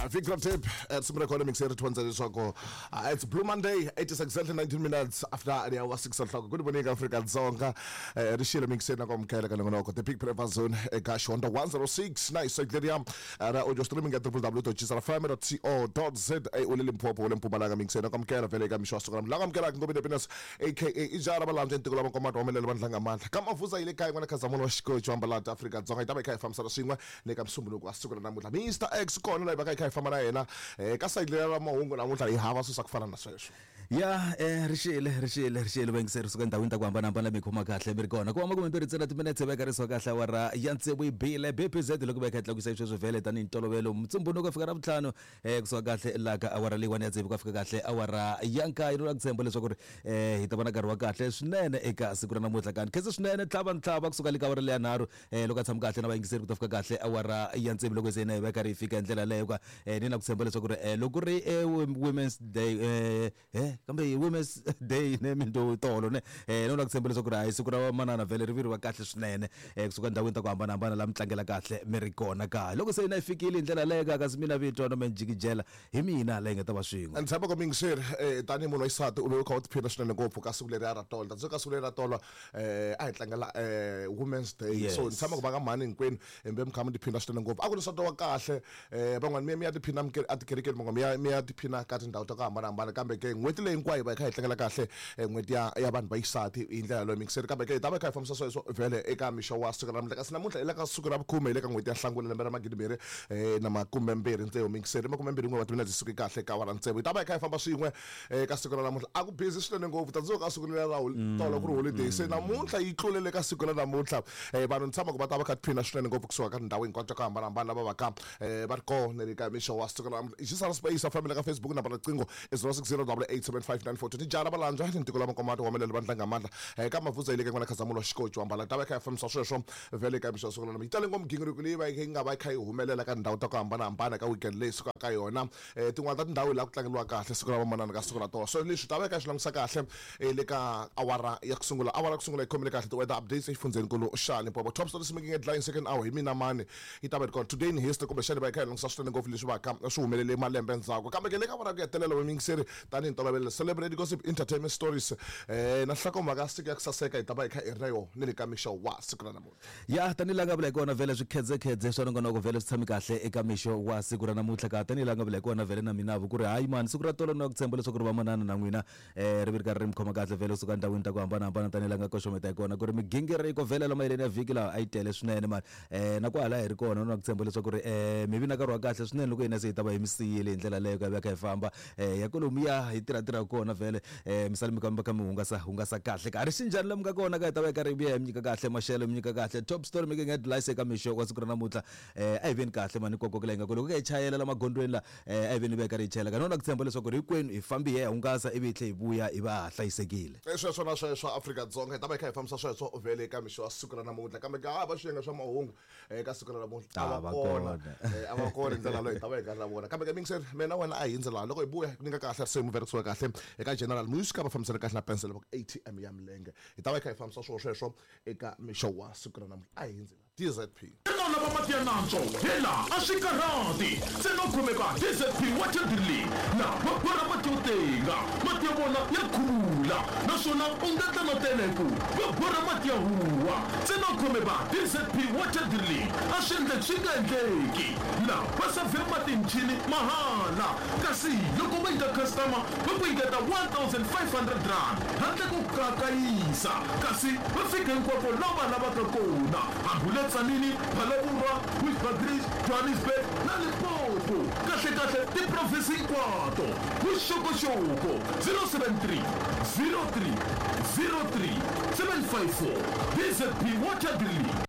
Vikram Tip risimu ra kona mixer ri thondza leswaku it's Blue Monday. It is exactly 19 minutes after the hour 6 o'clock. Good morning, Afrika Dzonga. Ri xile mixer na ku amukela ka nongonoko The Big Breakfast Zone eka Xihondzo 106 na hi ra audio streaming at www.gsrfm.co.za. U le Limpopo, u le Mpumalanga, mixer na ku amukela vhele eka mixo wa siku ra la ku amukelaka Ngobeni Happiness aka Ijara Valandza ntiko lava nkomato humelele vandlanga mandla ka mavuza yi le kaya n'wana Khazamulo wa xikochi wa Mbalati Afrika Dzonga. Yi ta va yi kha yi fambisana swin'we le ka musumbhunuko wa siku ra namuntlha. Mr X kona laha hi va ka hi kha hi famba na yena ka sayiti leri ra mahungu namuntlha hi hava swilo swa ku fana na sweswo. Ya rixile rixile rixile vayingiseri suka endhawini ta ku hambanahambana mi khoma kahle mi ri kona ku va makumembirhi ntsena timinetse va karisiwa kahle awara ya tsevu yi bile BPZ loko va kha yi tlakusa sweswo vhele tanihi ntolovelo mutsumbunuko fika ra vutlhanu kusuka kahle laha ka awara leyiwani ya tsevu ku fika kahle awara ya nkaye. Ni la ku tshemba leswaku ri hi ta va na nkarhi wa kahle swinene eka siku ra namuntlha. Kani khensa swinene tlhava ntlhava kusuka le ka awara leya nharhu loko a tshama kahle na vayingiseri ku ta fika kahle awara ya tsevu loko se na hi va karhi hi fika hi ndlela yaleyo ka ni na ku tshemba leswaku ri loko ri Women's Day kambe hi Women's Day ne minto tolo ne ni na ku tshemba leswaku ri hayi siku ra vamanana vhele ri viriwa kahle swinene kusuka endhawini ta ku hambanahambana laha mi tlangela kahle mi ri kona ka loko se na yi fikile hi ndlela yaleyo ka kasi mina vito no menjikijela hi mina leyi nga ta va swin'we. Ni tshemba ku muyingiseri tanihi munhu wa xisati u ve u kha u tiphina swinene ngopfu ka siku leriya ra tolo. Tanihi ka siku leri ra tolo a hi tlangela Women's Day. So ni tshemba ku va ka mhani hinkwenu mi ve mi kha mi tiphina swinene ngopfu. A ku ri nsati wa kahle van'wani mi ya mi ya tiphina etikerekeni, van'wani mi ya mi ya tiphina ka tindhawu ta ku hambanahambana. Kambe ke n'hweti leyi hinkwayo hi va hi kha hi tlangela kahle n'hweti ya ya vanhu va xisati hi ndlela yaleyo muyingiseri. Kambe ke hi ta va hi kha hi fambisa sweswo vhele eka mixo wa siku ra namuntlha. Kasi namuntlha hi le ka siku ra vukhume hi le ka n'hweti ya Nhlangula lembe ra magidimbirhi na makumembirhi tsevu muyingiseri. 21 wa timinete suke kahle ka awara tsevu. Hi ta va hi kha hi famba swin'we ka siku ra namuntlha. A ku busy swinene ngopfu tanihi ka siku leriya ra tolo ku ri holiday, se namuntlha yi tlulele ka siku ra namuntlha. Vanhu ni tshama ku va ta va kha tiphina swinene ngopfu kusuka ka tindhawu hinkwato ta ku hambanahambana lava va ka va ri kona le ka mixo wa siku ra namuntlha. Xisana Space a family ka Facebook namba riqingho i 060 8875942. Tijara Valandza ni ntiko lama komati humelele vandla nga mandla ka Mavuza yi le ka n'wana Khazamulo wa xikochi wa Mbala. Ta va kha hi fambisa sweswo vhele ka mixo wa siku ra namuntlha. Yi tale ngopfu migingiriko leyi va yi nga va yi kha yi humelela ka tindhawu ta ku hambanahambana ka weekend leyi sukaka ka yona. Tin'wana ta tindhawu laha ku tlangeriwa kahle siku ra vamanana ka siku ra tolo. So leswi ta va hi kha hi swi langutisa kahle le ka awara ya ku sungula. Awara ya ku sungula yi khomile kahle ti-weather updates exifundzhenikulu xa Limpopo. Top stories making headlines second hour hi mina mani yi ta va yi ri kona. Today in history kumbexana hi va hi kha hi langutisa swinene ngopfu leswi va ka swi humelele malembe endzhaku. Kambe ke le ka awara ya ku hetelela vayingiseri tanihi ntolovelo celebrate gossip entertainment stories na nhlokomhaka ya siku ya ku saseka hi ta va hi kha hi ri na yona ni le ka mixo wa siku ra namuntlha. Ya tanihi laha nga vula hi kona vhele swikhedzekhedze swa nongonoko vhele swi tshami kahle eka mixo wa siku ra namuntlha ka tanihi laha nga vula hi kona vhele na mina ku ri hayi mani siku ra tolo ni ku tshemba leswaku ri vamanana na n'wina ri vi ri karhi ri mi khoma kahle vhele kusuka endhawini ta ku hambanahambana tanihi laha nga koxometa hi kona ku ri migingiriko vhele la mayeleni ya vhiki laha a yi tele swinene mani na kwahala hi ri kona na ku tshemba leswaku ri mi vi na nkarhi wa kahle swinene loko hina se hi ta va hi mi siyile hi ndlela leyo ka va kha hi famba ya kolomuya hi tirhatirha kona vhele mi sale mi kamba kha mi hungasa hungasa kahle ka ri xinjhani lomu nga kona ka hi ta va hi karhi hi vuya hi mi nyika kahle maxelo mi nyika kahle top story making headlines eka mixo wa siku ra namuntlha. A hi veni kahle mani kokoko la hi nga ko loko hi chayela la magondzweni la a hi veni va hi karhi hi chayela ka nona ku tshemba leswaku ri hinkwenu hi fambi hi ya hungasa ivi hi tlhe hi vuya hi va ha hlayisekile. Sweswo na sweswo Afrika-Dzonga hi ta va hi kha hi fambisa sweswo vhele eka mixo wa siku ra namuntlha. Kambe ka hava swiyenge swa mahungu eka siku ra namuntlha a va kona a va kona hi ndlela leyo hi ta va hi karhi na vona. Kambe ke mingiseri mina wena a hi hindzi laha loko hi vuya ku nyika kahle risimu vhe kahle eka General Music va fambisana kahle na pencil va ku ATM ya milenge. Hi ta va hi kha hi fambisa swona sweswo eka mixo wa siku ra namuntlha. A hi hindzi laha DZP. Xana u lava mati ya nantswo? Hela, a swi karhati! Ntsena u khome va DZP Water Drilling laha va borha mati yo tenga. Mati ya vona ya khuvula naswona u nga tla na tele hi ku va borha mati ya huwa. Ntsena u khome va DZP Water Drilling a swi endleki swi nga endleki. Laha va savhe mati hi michini mahala kasi loko va nyika customer va ku nyiketa R1500 handle ko kayakayisa kasi va fika hinkwako laha va lavaka kona hambi u le Tzaneen, Phalaborwa, Bushbuckridge, Johannesburg na Limpopo, kahlekahle tiprovince hinkwato. Vuxokoxoko 073 03 03 754 DZP Water Drilling.